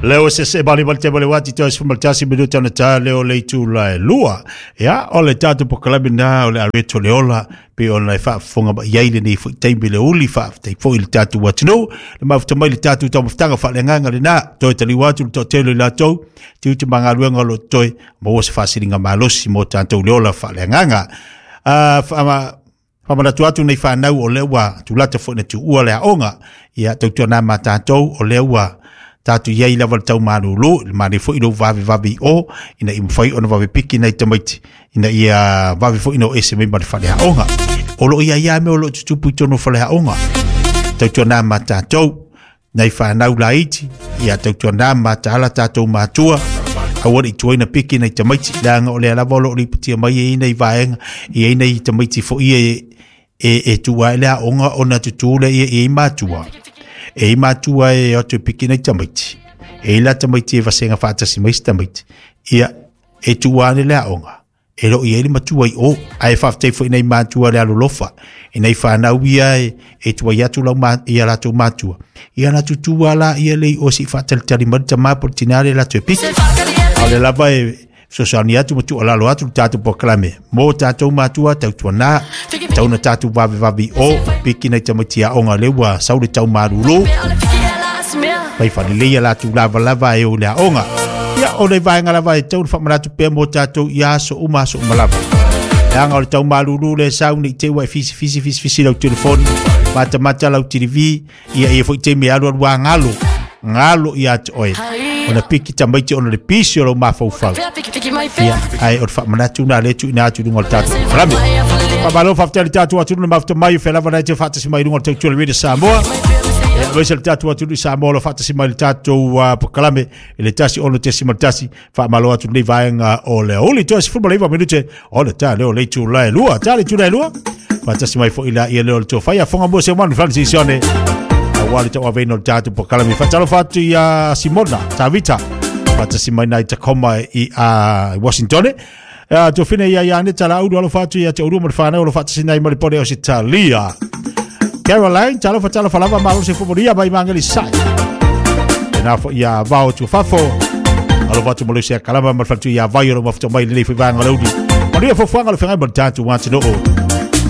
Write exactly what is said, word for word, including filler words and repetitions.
Leo se se bali bali te bali wati to se tasi minuta na ta leo le tu la lua. Ia o le tatu po kalabi na o le areto le ola pe o le faafofoga mai ai lenei foi taimi le uli faafetai foi le tatou atunuu le mafuta mai le tatou taumafataga faaleagaga lena toe taliu atu le toatele i latou tiute ma galuega o lo o toe maua se faasiliga malosi mo tatou le ola faaleagaga. Ah, faamanatu atu nei fanau o lea ua tulata foi na tuua le aoga ia tautuana ma tatou o lea ua tatou iai lava le taumalulu le manaia foi lou vavevave i o ina ia mafai ona vave piki nai tamaiti ina ia vave foi ona o ese mai ma le faleaoga. O loo ia ia mea o loo tutupu i totonu o faleaoga tautuana ma tatou nai fanau laiti ia tautuana ma taala tatou matua aua le tuaina piki nai tamaiti leaga o lea lava o loo lipotia mai e ai nai vaega e ai nai tamaiti foi e e e tua ai le aoga ona tutū lea ia i ai matua. E i matua e o atu e piki nei tamaiti. E i la tamaiti e vasenga faatasi mai se tamaiti. Ia, e tuua ane le aoga. E loo i ai le matua i o. Ae faafetai foi nei matua le alolofa. I nei whanau ia e, e tuai atu lau ma, ia latou matua. Ia na tutua la ia lei o si faatalitali mai le tamā po le tinā le latou e piki. A o le lava e fesoasoani atu ma tuualalo atu le tatou polokalame mo tatou matua tautuana tau na tatou vavevave i o piki nai tamaiti aoga lea ua sau le taumalulu fai faalelei a latou lavalava e o i le aoga. Ia o le vaega lava e tau na faamanatu pea mo tatou ia aso uma aso uma lava. Leaga o le taumalulu le sau nei te ua e fisifisi fisifisi lau telefoni matamata lau T V ia ia foi taimi e alualu a galo galo ia te oe ona piki tamaiti ona le pisi o lau mafaufau. Ia, ae o le faamanatu na le tuuina atu i luga o le tatou polokalame. Faamalo faafetai le tatou atunuu na mafuta mai o fea lava na te faatasi mai i luga o le tautua le Radio Samoa. Ia, aemaise le tatou atunuu i Samoa o lo o faatasi mai le tatou uh, polokalame i le tasi ono tesi ma le tasi. Faamalo atu lenei vaega o le aoauli toe sefulu ma le iva minute o le ta leo le itula e lua. Ta le itula e lua. Faatasi mai foi la ia leo le tofai afoga mo se manu Francis Sione. Aua le tauaveina o le tatou polokalame. Faatalofa atu ia Simona Tavita. Faatasi mai nai Tacoma i uh, Washington. Uh, tofine ia ia ane tala ulu alofa atu ia te ulu ma le whanau alo faatasi nai ma le pone o Sitalia. Caroline, talofa talofa lava malo se fumoria mai mangeli sai. E nā fo ia vao tu fafo. Alofa atu mo le se kalama ma le whantu ia vai o lo mafuta mai le foi vanga lauli. Manuia fofuaga le feagai ma le tatou atunuu.